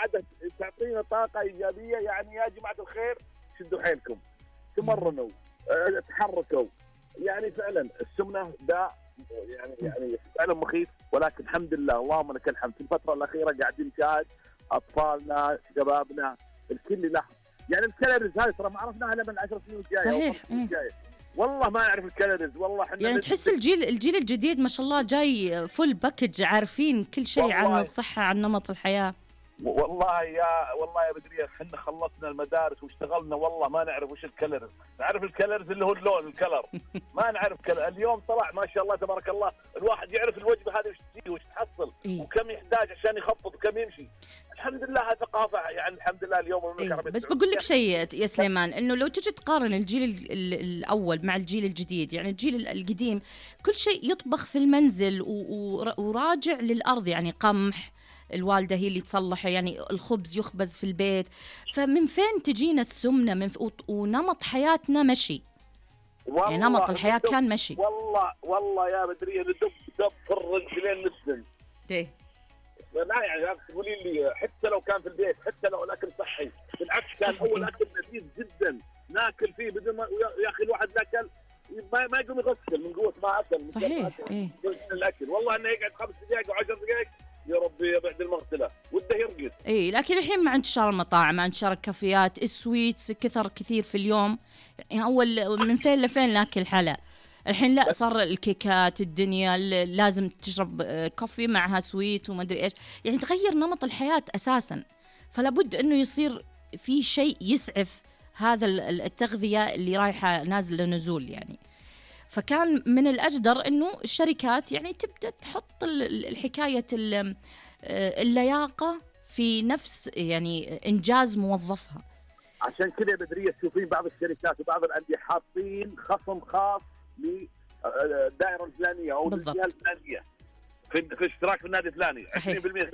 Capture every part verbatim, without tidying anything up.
قاعدة تعطينا طاقة إيجابية. يعني يا جماعة الخير شدوا حيلكم، تمرنوا، اه تحركوا. يعني فعلا السمنة داء يعني يعني فعلا مخيف، ولكن الحمد لله اللهم لك الحمد في الفترة الأخيرة قاعدين نشاهد أطفالنا شبابنا الكل يلاحظ. يعني الكالوريز هاي ترى ما عرفناها إلا من عشر سنين الجاية. صحيح. والله ما نعرف الكالوريز والله. احنا يعني تحس الجيل الجيل الجديد ما شاء الله جاي فول باكج، عارفين كل شيء عن الصحة، عن نمط الحياة. والله يا والله يا بدرية احنا خلصنا المدارس واشتغلنا والله ما نعرف وش الكالوريز. نعرف الكالوريز اللي هو اللون الكلر، ما نعرف كلر. اليوم طلع ما شاء الله تبارك الله الواحد يعرف الوجبة هذه وش تجي وش تحصل إيه؟ وكم يحتاج عشان يخفض وكم يمشي. الحمد لله هذه ثقافة يعني الحمد لله اليوم. إيه؟ بس بقول لك شيء يا سليمان، انه لو تجي تقارن الجيل الاول مع الجيل الجديد، يعني الجيل القديم كل شيء يطبخ في المنزل وراجع للأرض، يعني قمح الوالدة هي اللي تصلحه، يعني الخبز يخبز في البيت. فمن فين تجينا السمنة؟ من ونمط حياتنا مشي، يعني نمط الحياة كان مشي. والله والله يا بدرية ندب دب في الرجلين نسن ايه لا يعني تقولين لي حتى لو كان في البيت، حتى لو الأكل صحي، بالعكس كان أول أكل لذيذ جدا ناكل فيه بدون ما يا أخي الواحد لاكل ما ما يقوم يغسل من قوة ما أكل. صحيح إيه. الأكل والله إنه يقعد خمس دقائق وعشر دقائق يا ربي بعد المغسلة وده يرقد. اي لكن الحين مع انتشار المطاعم، مع انتشار الكافيات، السويتس كثر كثير في اليوم. يعني اول من فين لفين ناكل حلا، الحين لا صار الكيكات الدنيا لازم تشرب كوفي معها سويت وما ادري ايش، يعني تغير نمط الحياة اساسا. فلا بد انه يصير في شيء يسعف هذا التغذية اللي رايحة نازلة نزول يعني. فكان من الأجدر إنه الشركات يعني تبدأ تحط الحكاية اللياقة في نفس يعني إنجاز موظفها. عشان كذا بدرية تشوفين بعض الشركات وبعض الأندية حاطين خصم خاص للدائرة الفلانية أو الجهة الفلانية في في اشتراك في النادي الفلاني عشرين بالمئة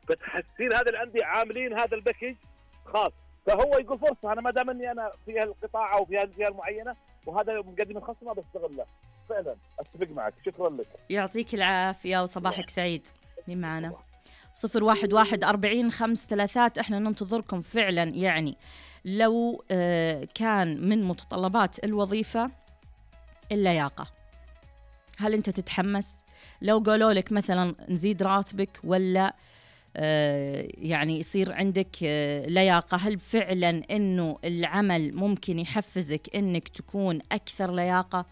فتحسين هذا الأندية عاملين هذا الباكج خاص. فهو يقول فرصة أنا ما دام إني أنا في القطاع أو في الجهة المعينة وهذا مقدم الخصم ما بستغله. فعلا أتفق معك. شكرا لك، يعطيك العافية وصباحك سعيد. مين معنا؟ صفر واحد واحد أربعين خمس ثلاثات. إحنا ننتظركم فعلا. يعني لو آه كان من متطلبات الوظيفة اللياقة، هل أنت تتحمس؟ لو قالوا لك مثلا نزيد راتبك ولا آه يعني يصير عندك آه لياقة، هل فعلا إنه العمل ممكن يحفزك إنك تكون أكثر لياقة،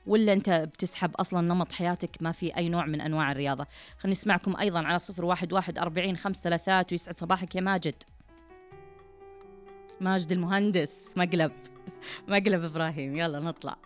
ولا أنت بتسحب أصلا نمط حياتك ما في أي نوع من أنواع الرياضة؟ خلينا نسمعكم أيضا على صفر واحد واحد أربعين خمس ثلاثات. ويسعد صباحك يا ماجد. ماجد المهندس مقلب مقلب إبراهيم. يلا نطلع.